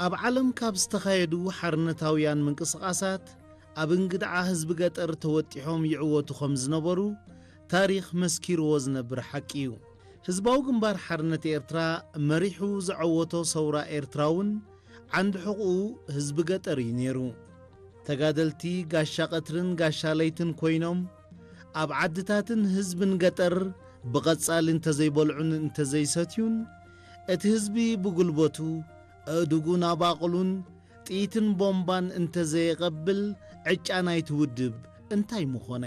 ኣብ ዓለም ካብ ዝተኻየዱ ሓርነታውያን ምንቅስቓሳት ኣብ እንግድዓ ህዝቢ ገጠር ተወጢሖም ይዕወቱ ከም ዝነበሩ ታሪኽ መስኪርዎ ዝነብር ሓቂ እዩ። ህዝባዊ ግንባር ሓርነት ኤርትራ መሪሑ ዘዐወቶ ሰውራ ኤርትራ እውን ዓንዲ ሕቑኡ ህዝቢ ገጠር እዩ ነይሩ። ተጋደልቲ ጋሻ ቀትርን ጋሻ ለይትን ኮይኖም ኣብ ዓድታትን ህዝብን ገጠር ብቐጻሊ እንተዘይበልዑን እንተዘይሰትዩን እቲ ህዝቢ ብጉልበቱ ኣእዱጉን ኣባቕሉን ጥይትን ቦምባን እንተዘየቐብል ዕጫ ናይቲ ውድብ እንታይ ምኾነ?